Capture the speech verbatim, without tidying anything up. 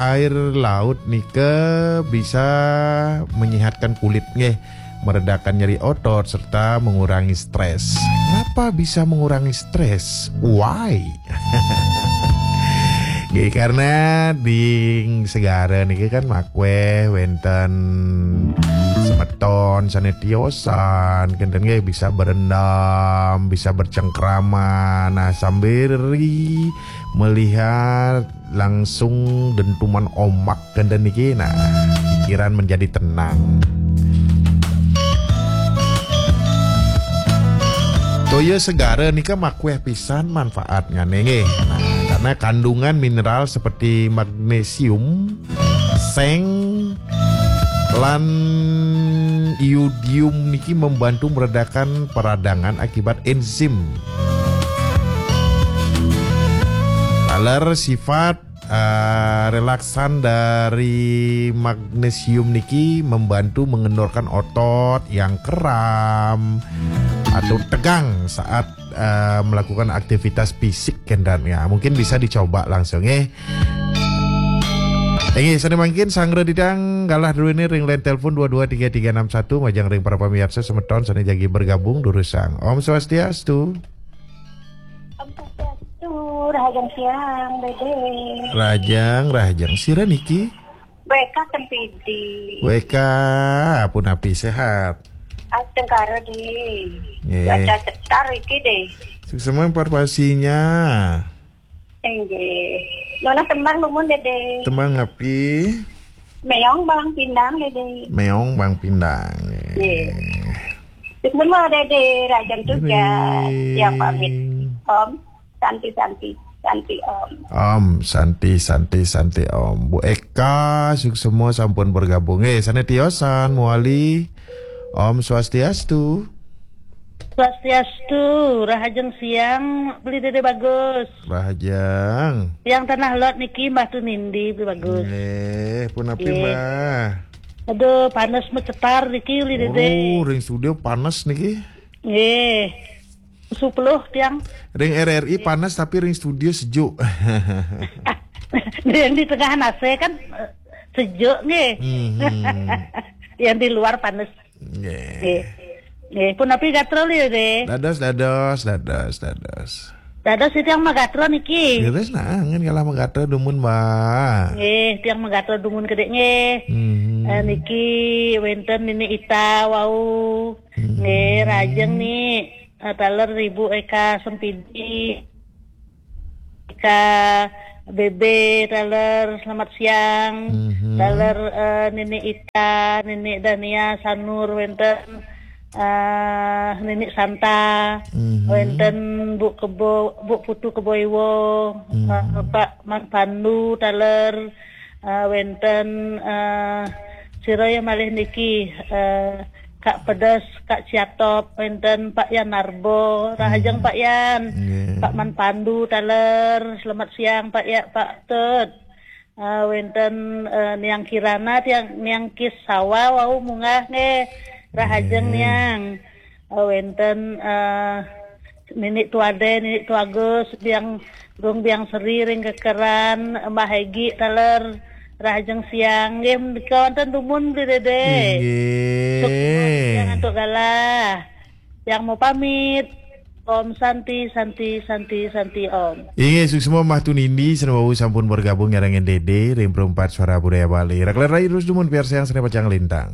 air laut nika bisa menyehatkan kulit nggih, meredakan nyeri otot serta mengurangi stres. Ngapa bisa mengurangi stres? Why? Nggih, karena di segara niki kan makweh wenten semeton sane tiosan, kenten nggih bisa berendam, bisa bercengkrama. Nah, sambil melihat langsung dentuman ombak kenten niki, nah, pikiran menjadi tenang. Toya segara nika makweh pisan manfaatnya nggih. Nah, karena kandungan mineral seperti magnesium, seng, lan iodium niki membantu meredakan peradangan akibat enzim. Taler sifat eh, relaksan dari magnesium niki membantu mengendorkan otot yang kram atau tegang saat eh, melakukan aktivitas fisik, kenten ya. Mungkin bisa dicoba langsung eh. Inggih, sane mangkin sanggra didang galah duene ring line telepon dua dua tiga tiga enam satu, majeng ring para pamiarsa semeton sane jagi bergabung durusang. Om Swastiastu. Om Swastiastu, rahajeng siang, Dede. Rahajeng, rahajeng. Sira niki? W K Sempidi. W K, punapi sehat? Astungkara, De. Nggih. Cuaca cetar iki, De. Suksema informasinya. Inggih. Nunas tembang dumun, Dede. Tembang api? Meong Balang Pindang, Dede. Meong Balang Pindang. Nggih. Nggih. Dumun, Dede, rahajeng tugas. Nggih. Yang pamit. Om Santi, Santi, Santi, Om. Om Santi, Santi, Santi, Om. Bu Eka, suksema sampun bergabung. Eh, sane tiosan, Muali. Om Swastiastu. Swastiastu, rahajeng siang, Beli Dede Bagus. Rahajeng. Tiang Tanah Lot niki, Mbah Tunindi, Beli Bagus. Nggih, punapi, Nggih. Mbah? Aduh, panes mecetar niki, Beli Dede. Waduh, ring studio panes niki. Nggih. Sepuluh tiang. Ring R R I panas, tapi ring studio sejuk. Yang di tengah A C kan, eh, sejuk nggih. Mhm. Yang di luar panas. Nggih. Nggih. Nggih, punapi gatra, Beli Dede? Dados, dados, dados, dados. Dados tiang magatra niki. Leres nah, ngen kalah magatra dumun, Mbah. Nggih, tiang magatra dumun kedek nggih. Mhm. Eh, niki wenten Nini Ita wau. Mhm. Nggih, rahajeng, Ni. Eh, taler Ibu Eka Sempidi. Eka Bebe, taler, selamat siang. Mhm. Taler, eh, Nini Ita, Nini Dania, Sanur, wenten, eh, Nini Santa, Mhm. wenten Bu Kebo, Bu Putu Kebo Iwo, Mhm. eh, Pak Man Pandu, taler, eh, wenten, eh, sira ya malih niki, eh, Kak Pedes, Kak Ciatop, wenten Pak Yan Narbo, rahajeng Mhm. Pak Yan, Nggih. Pak Man Pandu, taler, selamat siang Pak ya, Pak Tut. Eh, wenten, eh, Niang Kirana, tiang, Niang Kisawa, wau munggah nggih, rahajeng Nggih. Niang. Eh, wenten, eh, Nini Tuade, Nini Tuagus, Biang Gung, Biang Seri ring Kekeran, Mbah Egi, taler, rahajeng siang. Nggih, menika wonten dumun, Beli Dede. Inggih. Sukses, tiang antuk galah. Tiang mau pamit. Om Santi, Santi, Santi, Santi, Om. Inggih, suksma Mbah Tunindi, sareng wau sampun bergabung nyarengin Dede ring Perempat Suara Budaya Bali. Rak rai terus dumun piarsayang sane pacang lintang.